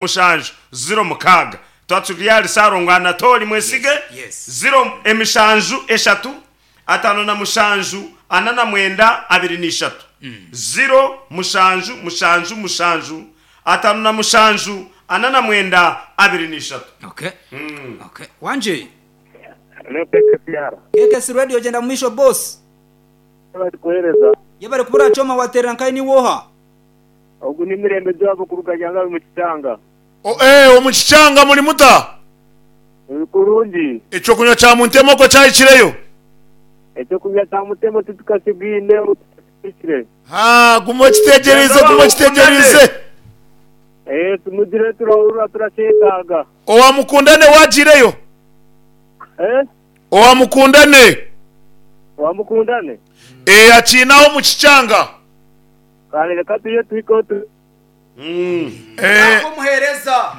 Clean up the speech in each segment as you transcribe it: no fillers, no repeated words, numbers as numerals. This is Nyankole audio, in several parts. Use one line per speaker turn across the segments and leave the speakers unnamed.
Mushanju, ziro mukaaga. Twaturi ahari Ssalongo Anatoli Mwesige, ziro emishanju eshatu, 57 49 23, ziro mushanju mushanju mushanju, 57 49 23.
Okay. Okay. Wangi.
Hello KKCR.
KKC Radio gyenda mumaisho boss.
Yebare kuhereza.
Yebare kubura Choma waterera nkahi niiwe oha?
Ogu ni Mirembe Joab kuruga Nyangabi mu Kikyanga.
Ee, omu Kikyanga muri muta?
Turi kurungi.
Eky'okunywa kya Muntema okwo kyahikireyo?
Eky'okunywa kya Mutema titukakibwine tikihikire.
Haa, guma okitegyereize, guma okitegyereize.
Ee, tumugire turahurira turakyetaaga.
Owa Mukundane waagiireyo?
Ee?
Owa Mukundane.
Owa Mukundane?
Ee, akiine aho omu Kikyanga.
Kare reka tuje tuhikeho tu.
Eh.
Omuheereza.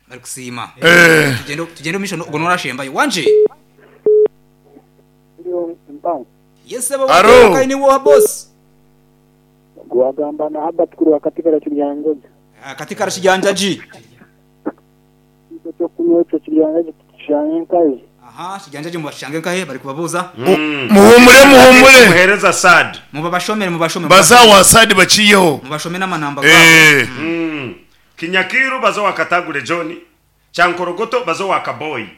Barikusiima.
Eh.
Tugyende tugyende omu maisho ogwo n'orashembayo. Wangi. Yes sebo
Aro.
wateera niiwe oha boss?
Gwagamba na Herbert kuruga Katikara Kiryanjagi.
Ah, Katikara Kiryanjagi.
Ekyo ky'okunywa ekyo Kiryanjagi tukishange nkahi?
Aha, Kiryanjagi mubashange nkahi? Barikubabuuza.
Muhumure muhumure.
Muheereza Saad.
Mubabashomere mubashome.
Baze aho wa Saad bakiiyeho.
Mubashome n'amanamba gaabo.
Eh.
Kinyakiiru baze owa Katagure John, Kyankorogoto baze owa Kaboyi.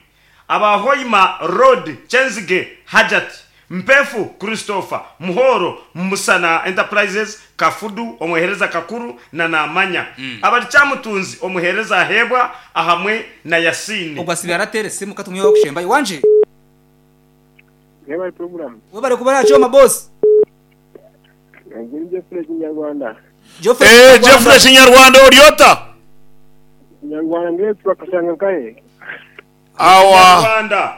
Aba Hoima Road, Kyenzige Hajat, Mpefu Christopher, Muhoro, Musana Enterprises, Kafudu, Omuheereza Kakuru na Namanya. Abari Kyamutunzi, Omuheereza Aheebwa ahamwe na Yasini.
Ogwo asibe arateera esimu ka tumwiheho okushembayo. Wangi.
Mwebare puroguramu.
Webare kuba aha kyoma boss.
Ogu ni Geoffrey Kinyarwanda.
Geoffrey
Eh,
Kinyarwanda.
Geoffrey Kinyarwanda ori ota?
Kinyarwanda mbwenu twakashanga nkahe?
Awa.
Rwanda.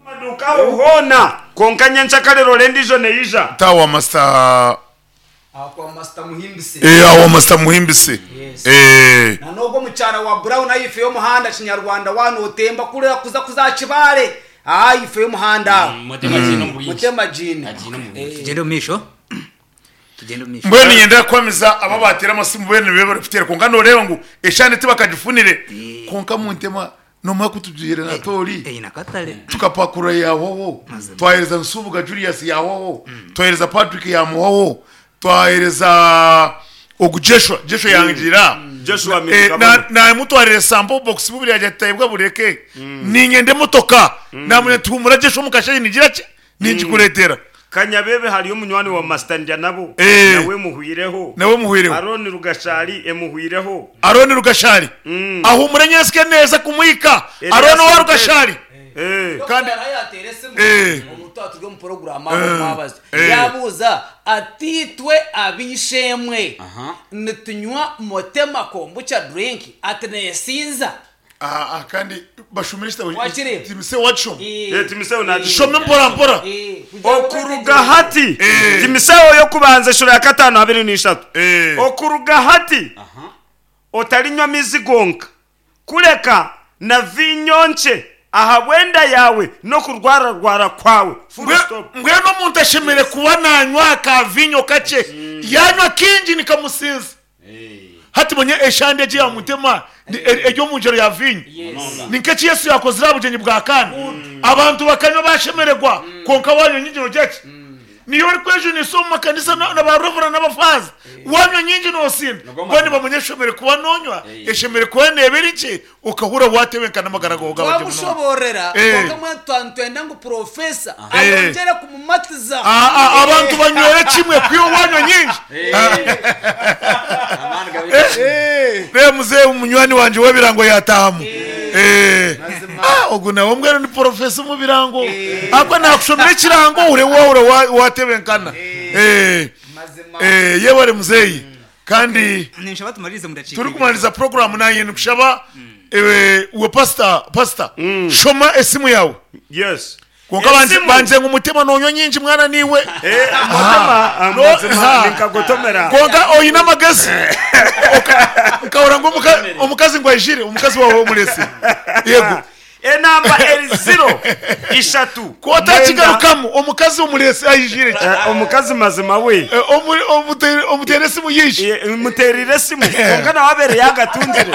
Maduuka aho hoona kwonka nyenkyakare rora endiijo neija.
Tawa master
Aho kwa Master Muhimbise.
Eh, awo master Muhimbise.
Yes.
Eh.
Na n'ogwo omukyara wa Brown ahaifo y'omuhanda Kinyarwanda waaba nootemba kuriya kuza kuza aha Kibaare ahaifo y'omuhanda aho.
Mutema agiine omu bwingi.
Mutema agiine.
Agiine omu bwingi.
Tugyende omu maisho. Tugyende omu maisho.
Mbwenu niinyenda kuhamiza abo abaateire amasimu boona nibo barikuteera kwonka nooreeba ngu eshaaha tibakagifunire kwonka Muntema Noomanya ku tugiire na Toori
Eine akatare.
tukapakurura yaahwaho,
Mazima.
twaheereza Nsubuga Julius yaahwaho, twaheereza Patrick yaamuhwaho, twaheereza ogu Jeshua, Jeshua yangira.
Joshua
Eh,
Miruka Bono.
Naamutwarira sample box bubiri yagira ati taibwa bureke. Niinyenda emotoka. Naamanya nti huumura Jeshua omu kasheeshe ningira ki? Ningikureetera.
Kanyabebe hariyo munywani wa Master Ndyanabo
Eh.
nawe emuhwireho.
Nawe emuhwireho.
Arooni Rugashari emuhwireho.
Arooni Rugashari ahuumure nyensike neza kumuhika.
Elias
Arooni owa
Mutesi.
Rugashari.
Eh.
Kandi
Dokita yateera esimu
Eh.
omu twaba turi omu puroguraamu aho omu mwabazi
Eh.
yaabuuza ati itwe ab'eishe-emwe nitunywa Motema Kombucha drink ati neesinza?
Ah, ah, kandi bashomere ekitabo
Wakireeba?
Timotheo wakishoma?
Eh, Timotheo naakishoma.
Shoma mpora mpora.
Okuruga hati,
Eh.
Timotheo y'okubanza eshura ya kataano 23.
Eh.
Okuruga hati otarinywa maizi gonka, kureka na viinyo nkye ahabw'enda yaawe n'okurwararwara kwawe. Full stop.
Mbwenu omuntu ashemereire kuba nanywa aka viinyo kakye. Yanywa kingi nikamusinza. Hati manya eshande egi ya mutema eri omu ngyero ya viinyo. Ni nk'eki Yesu yaakozire aha bugyenyi bwa Kaana. Abantu bakanywa baashemererwa, kwonka waanywa nyingi noogira ki? Niiwe orikwejunisa omu makanisa na ba Reverend n'abafaaza, waanywa nyingi noosinda. Mbwenu nibamanya eshemereire kuba noonywa, eshemereire kuba neeba eri nkye, okahurira waatebenkana amagara gaawe gaaba gye munonga.
Twamushoboororera
Eh.
kwonka mbwenu twaba nitwenda ngu Purofesa
Eh.
ayongyere kumumatiza.
Ah, ah, abantu banywere kimwe kwiha wanywa nyingi.
Amaani gabe
Reeba muzeeyi munywani wangye w'ebirango yaataahamu. Eh. Ah, ogu nawe mbwenu ni porofesa omu birango. Ahabw'okuba naakushomera ekirango ohure waahura wa- waatebenkana. Eh.
Mazima.
Eh, yebare muzeeyi. Kandi
Ninshaba tumaririze omu dakiika ibiri.
turikumaririza puroguraamu naanye nikushaba ewe we pasita pasita shoma esimu yaawe.
Yes.
Kwonka banze
Esimu.
banze ngu Mutema nonywa nyingi mwana niiwe.
Eh, Mutema, ah,
No,
mazima
ha.
ninkagotomera.
Kwonka oine amagezi. Oka- Nkahurira ngu omuka- omukazi ngu aijire, omukazi waawe omuretsire. Yego.
Enamba eri ziro, ishatu,
Ku
mwenda.
otakigarukamu, omukazi omureetsi aijire ki?
Omukazi mazima we.
Omuteere esimu yaija.
Muteerire esimu, kwonka nawe abeere yaagatungire.